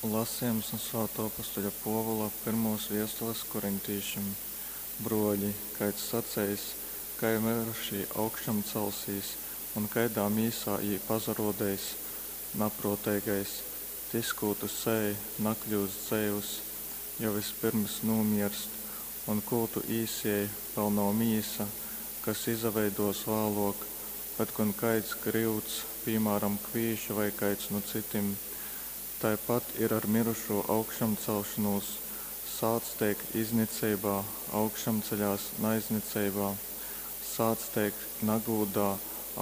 Lasījums no Svātō apostoļa Pōvula pyrmōs viestules korintīšim. Brōļi, kaids saceis, kai myrušī augšamcelsīs un kaidā mīsā jī pasarōdeis? Naprōteigais, tys, kū tu sēj, nakļyust dzeivs, jo vyspyrms nūmierst, un kū tu īsiej, vēl nav mīsa, kas izaveidōs vālōk, bet gon kaids gryuds, pīmāram, kvīši vai kaids nu cytim. Taipat ir ar myrušū augšamcelšonūs. Sāts teik izniceibā, augšamceļās naizniceibā, sāts teik nagūdā,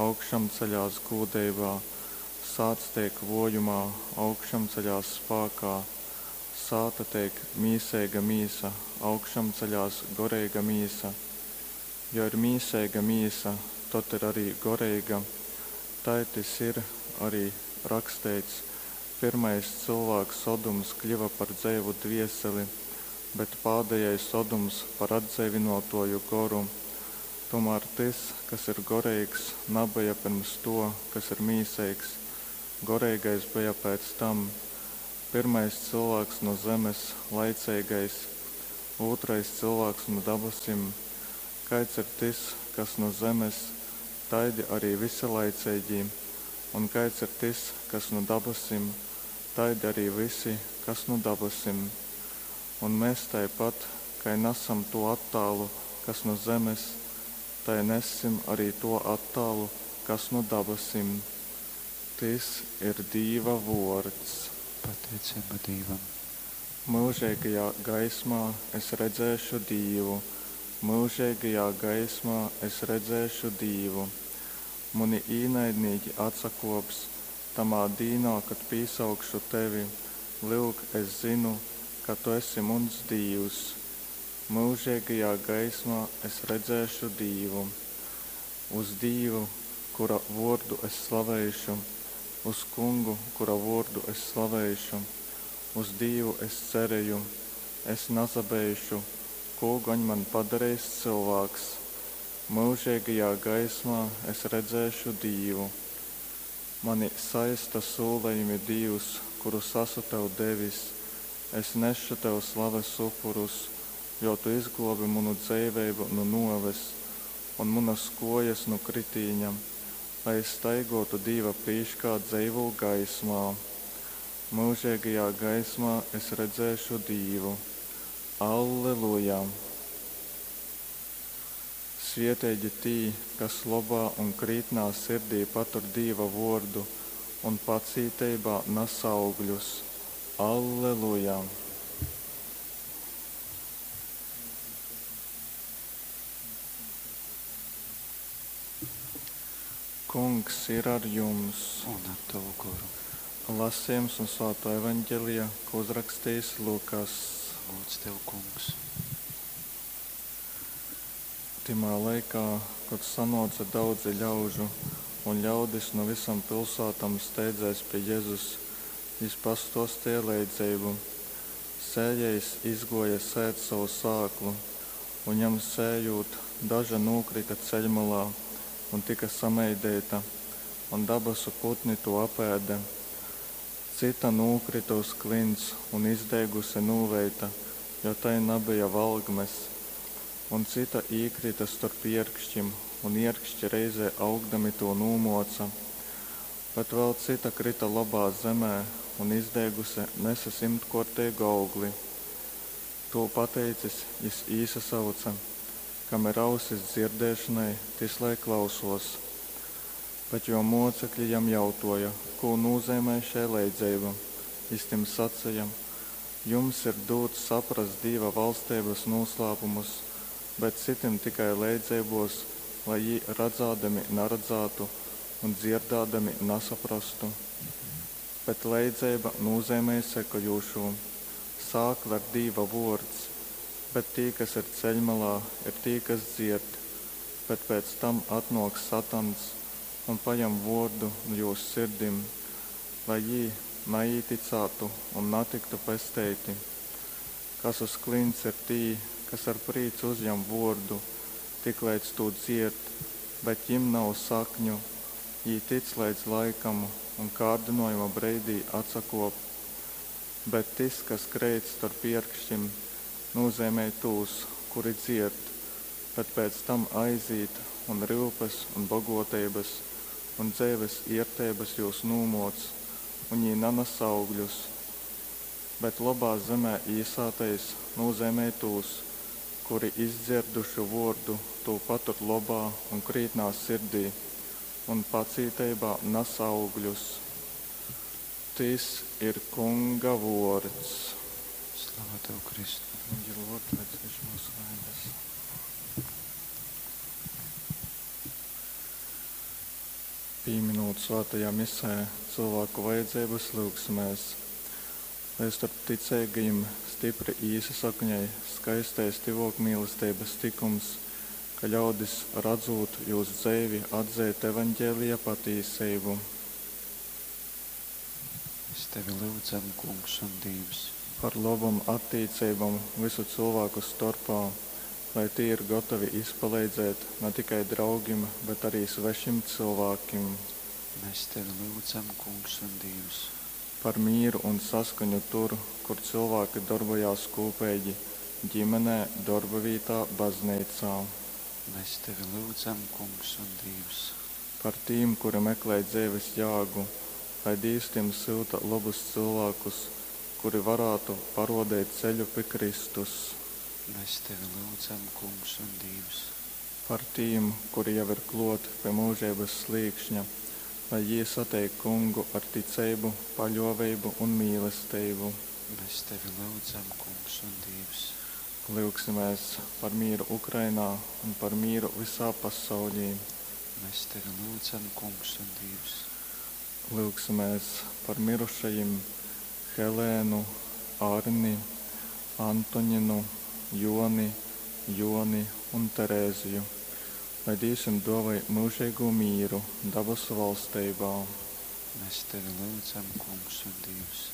augšamceļās gūdeibā, sāts teik vōjumā, augšamceļās spākā, sāta teik mīseiga mīsa, augšamceļās goreiga mīsa. Jo ir mīseiga mīsa, tod ir arī goreiga. Tai tys ir arī raksteits, Pyrmais cylvāks Odums kļyva par dzeivu dvieseli, bet pādejais Odums par atdzeivynōtōju goru. Tūmār tys, kas ir goreigs, nabeja pyrms tō, kas ir mīseigs, goreigais beja pēc tam. Pyrmais cylvāks nu zemes, laiceigais, ūtrais cylvāks nu dabasim. Kaids ir tys, kas nu zemes, taidi arī vysi laiceigī, un kaids ir tys, kas nu dabasim, taidi arī vysi, kas nu dabasim. Un mes taipat, kai nasam tū attālu, kas nu zemes, tai nessim arī to attālu, kas nu dabasim. Tys ir Dīva vōrds. Pateiceiba Dīvam. Myužeigajā gaismā es redzēšu Dīvu, myužeigajā gaismā es redzēšu Dīvu. Muni īnaidnīki atsakōps, tamā dīnā, kod pīsaukšu tevi, lyuk, es zynu, ka tu esi muns Dīvs. Myužeigajā gaismā es redzēšu Dīvu. Uz Dīvu, kura vōrdu es slaveišu, uz Kungu, kura vōrdu es slaveišu. Uz Dīvu es cereju, es nasabeišu, kū gon man padareis cylvāks. Myužeigajā gaismā es redzēšu Dīvu. Mani saista sūlejumi, Dīvs, kurus asu tev devis. Es nesšu tev slaves upurus, jo tu izglōbi munu dzeiveibu nu nōves un munas kōjas nu kritīņa, lai es staigōtu Dīva prīškā dzeivū gaismā. Myužeigajā gaismā es redzēšu Dīvu. Alleluja! Svietīgi tī, kas lobā un krītnā sirdī patur Dīva vōrdu un pacīteibā nas augļus. Alleluja! Kungs ir ar jums! Un ar tavu goru. Lasījums no Svētā Evaņģelija, ko uzrakstījis Lukas. Gods tev, Kungs. Tymā laikā, kod sanōce daudzi ļaužu un ļaudis nu vysom pilsātom steidzēs pi Jezus, jys pastōsteja leidzeibu. Sējējs izgōja sēt sovu sāklu, un jam sējūt, daža nūkryta ceļmolā un tyka sameideita, un dabasu putni tū apēde. Cyta nūkryta uz klints un izdeiguse nūveita, jo tai nabeja valgmes. Un cyta īkryta storp ierkšķim, un ierkšķi reizē augdami tū nūmōca. Bet vēl cyta kryta lobā zemē un izdeiguse nese symtkōrteigu augli. Tū pateicis, jys īsasauce, Kam ir ausis dzierdēšonai, tys lai klausōs. Bet jō mōcekļi jam jautōja, kū nūzeimej šei leidzeiba. Jys tim saceja, Jums ir dūts saprast Dīva valsteibas nūslāpumus, bet cytim tikai leidzeibōs, lai jī radzādami naradzātu un dzierdādami nasaprastu. Bet leidzeiba nūzeimej sekojūšū, Sākla ir Dīva vōrds, bet tī, kas ir ceļmalā, ir tī, kas dzierd, bet pēc tam atnōk satans un pajam vōrdu nu jūs sirdim, lai jī naīticātu un natyktu pesteiti. Kas uz klints ir tī, kas ar prīcu uzjam vōrdu, tikleidz tū dzierd, bet jim nav sakņu, jī tic leidz laikam un kārdynōjuma breidī atsakōp. Bet tys, kas kreit storp ierkškim, nūzeimej tūs, kuri dzierd, bet pēc tam aizīt, un ryupes un bogōteibas, un dzeives ierteibas jūs nūmōc, un jī nanas augļus. Bet lobā zemē īsātais nūzeimej tūs, kuri, izdzierduši vōrdu, tū patur lobā un krītnā sirdī un pacīteibā nas augļus. Tys ir Kunga vōrds. Slava Tev, Kristu. Kungi, Lord, lai cieš mūsu vainas. Pīminūt svētajā misē cilvēku vajadzības, lyugsimēs, lai starp ticeigajim stipri īsasakņoj skaistais tyvōkmīlesteibas tykums, ka ļaudis, radzūt jūs dzeivi, atzeit Evaņgelija patīseibu. Mēs Tevi lyudzam, Kungs un Dīvs. Par lobom attīceibom vysu cylvāku storpā, lai tī ir gotovi izpaleidzēt na tikai draugim, bet arī svešim cylvākim. Mēs Tevi lyudzam, Kungs un Dīvs. Par mīru un saskaņu tur, kur cylvāki dorbojās kūpeigi ģimenē, dorbavītā, bazneicā. Mēs Tevi lyudzam, Kungs un Dīvs. Par tīm, kuri meklej dzeives jāgu, lai Dīvs tim syuta lobus cylvākus, kuri varātu parōdeit ceļu pi Kristus. Mēs Tevi lyudzam, Kungs un Dīvs. Par tīm, kuri jau ir klōt pi myužeibas slīkšņa, lai jī sateik Kungu ar ticeibu, paļōveibu un mīlesteibu. Mēs Tevi lyudzam, Kungs un Dīvs. Lyugsimēs par mīru Ukrainā un par mīru visā pasaulī. Mēs Tevi lyudzam, Kungs un Dīvs. Lyugsimēs par mirušajim Helēnu, Arni, Antoņinu, Joni, Joni un Terēziju, lai Dīvs jim dōvoj myužeigū mīru dabasu valsteibā. Mēs Tevi lyudzam, Kungs un Dīvs.